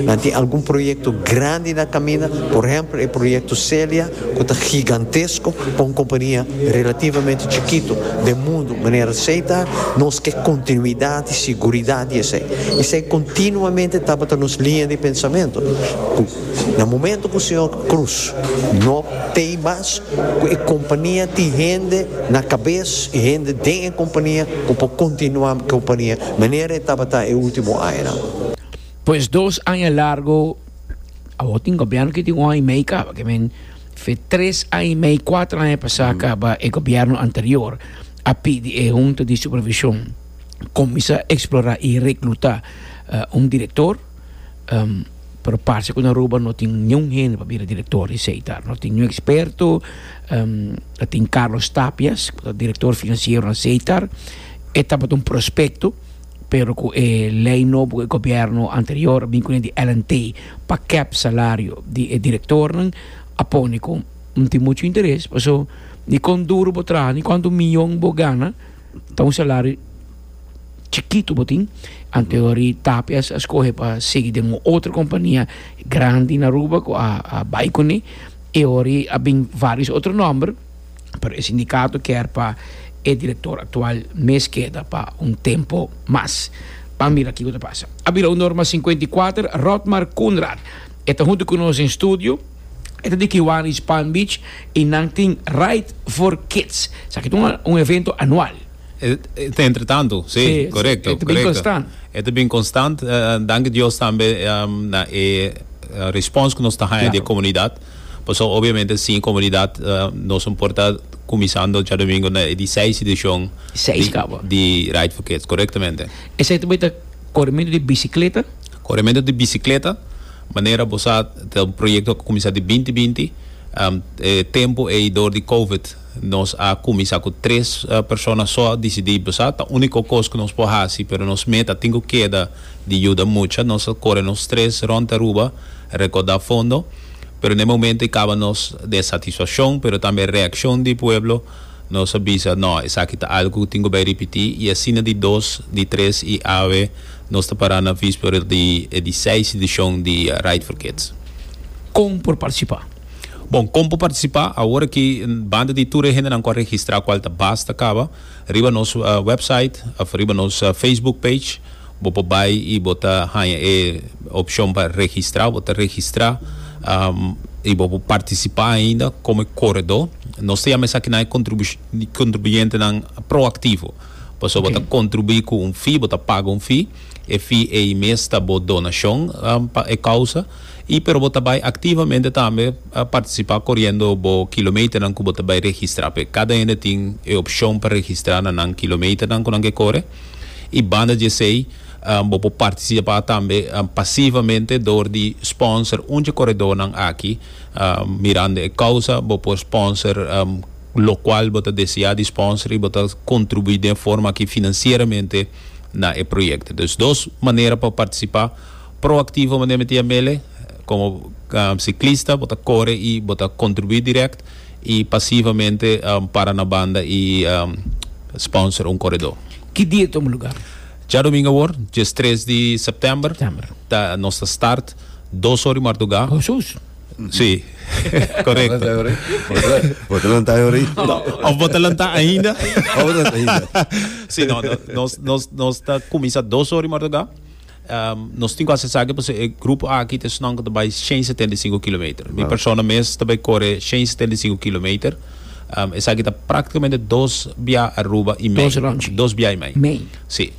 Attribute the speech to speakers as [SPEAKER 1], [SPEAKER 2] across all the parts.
[SPEAKER 1] Nan tin algun proyecto grandi na caminda, por ehempel e proyecto Celia, cu ta gigantesco pa un compania relativamente chikito den mundo manera Setar. Nos ke continuidad y siguridad di esey. Esey continuamente tabata nos liña di pensamento, cu na momento cu señor Croes no t'ey mas, cu e compania tin hende na cabes y hende den e compania cu por continua e compania manera e tabata e ultimo añanan.
[SPEAKER 2] Pues 2 aña largo, awor tin gobierno cu tin un aña y mei caba, ke men fe 3 aña y mei, 4 aña pasa caba e gobierno anterior a pidi e hunta di supervision cuminsa explora y recluta un director, pero parce cu na Aruba no tin ningun hende pa bira director di Setar, no tin ningun experto. Tin Carlos Tapias, director financiero na Setar, e tabata un prospecto, pero cu e ley nobo, e gobierno anterior bin cu di LNT pa cap salario di e directornan, a pone cu no tin mucho interes, paso ni con duro bo traha, ni cuanto miyon bo gana, ta un salario chikito bo tin. Anterior Tapias a scoge pa sigui den un otro compania grandi na Aruba cu a bay cune y ora a bin varios otro nomber, pero e sindicato kier pa e director actual mes keda pa un tempo mas. Pa mira kico ta pasa. A bira 1'54. Rotmar Koenraad ta hunto cu nos den studio. E ta di Kiwanis Palm Beach y nan tin Ride for Kids. Esaki ta un evento anual.
[SPEAKER 3] Entre tanto, si, corecto.
[SPEAKER 2] E ta bin constant.
[SPEAKER 3] E bin constant. Danki Dios tambe na e response cu nos ta haya di comunidad. Paso obviamente sin comunidad nos no por ta cuminsando diadomingo na di 6 edicion
[SPEAKER 2] 6 caba.
[SPEAKER 3] Di Ride for Kids, corectamente.
[SPEAKER 2] Esey tambe ta coremento di bicicleta?
[SPEAKER 3] Coremento di bicicleta, manera bo sa, ta un proyecto cu a cuminsa di 2020, e tempo ey door di COVID nos a cuminsa cu tres persona so. A dicidi, bo sa, ta unico cos cu nos por haci, pero nos meta tin cu keda di yuda mucha. Nos a core nos tres rond Aruba, recorda fondo, pero na e momento ey caba nos de satisfaccion, pero tambe reaccion di pueblo, nos a bisa: no, esaki ta algo cu tin cu bay ripiti. Y asina di dos, di tres y awe nos ta para na vispera di e di 6 edicion di Ride for Kids.
[SPEAKER 2] Con por participa?
[SPEAKER 3] Bon, con por participa? Awor aki, banda di tur e hendenan cu a registra, cual ta basta caba, riba nos website of riba nos Facebook page, bo por bay y bo ta haya e opcion pa registra. Bo ta registra y bo por participa ainda como coredo. Nos ta yama esaki nan e contribuyentenan proactivo. Pasobra bo ta contribui cu un fee, bo ta paga un fee. E fee ey mes ta bo donacion pa e causa. Y pero bo ta bay activamente tambe participa coriendo bo kilometernan cu bo ta bay registra pe. Cada hende tin e opcion pa registra na nan kilometernan cu nan ke core. Y banda di esey, bo por participa tambe pasivamente door di sponsor un di e coredornan aki. Mirando e causa, bo por sponsor locual bo ta desea di sponsor y bo ta contribui den forma aki financieramente na e proyecto. Dus dos manera pa participa: proactivo, manera mi ta yam'ele, como ciclista, bo ta core y bo ta contribui direct, y pasivamente para na banda y sponsor un coredor.
[SPEAKER 2] Ki dia tuma lugar?
[SPEAKER 3] Diadomingo awor, 13 di september,
[SPEAKER 2] September.
[SPEAKER 3] Ta, nos ta start 2'or di marduga.
[SPEAKER 2] Jesus.
[SPEAKER 3] Si, corecto.
[SPEAKER 4] Bo ta lanta ori?
[SPEAKER 3] No, of bo ta lanta ainda?
[SPEAKER 4] Of bo ta lanta ainda?
[SPEAKER 3] Si, no, nos ta cuminsa 2'or di marduga. Nos tin cu haci esaki pasobra e grupo aki ta esnan cu ta bay 175 kilometer. Mi persona mes ta bay core 175 kilometer. Esaki ta practicamente dos bia Aruba y mei.
[SPEAKER 2] Dos rondje.
[SPEAKER 3] Dos bia y mei.
[SPEAKER 2] Mei.
[SPEAKER 3] Si.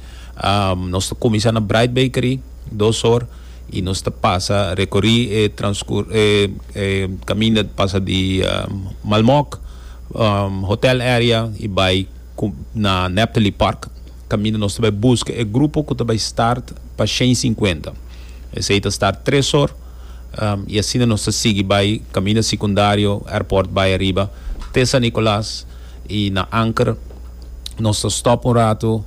[SPEAKER 3] Nos ta cuminsa na Bright Bakery, 2'or, y nos ta pasa recori e transcur e caminda pasa di Malmok, hotel area y bay na Neptali Park. Caminda nos ta bay busca e grupo cu ta bay start pa 150. Esey ta start 3'or y asina nos ta sigui bay caminda secundario, airport bay ariba te San Nicolas y na Anker nos ta stop un rato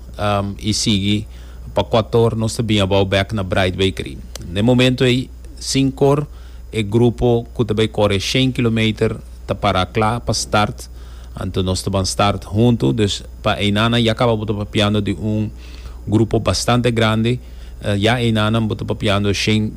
[SPEAKER 3] y sigui pa 4'or nos ta bin abao bek na Bright Bakery. Na e momento ey, 5'or, e grupo cu ta bay core 100 kilometer ta para cla pa start, anto nos ta ban start hunto. Dus pa eynana ya caba bo ta papiando di un grupo bastante grandi. Ya eynana bo ta papiando 100.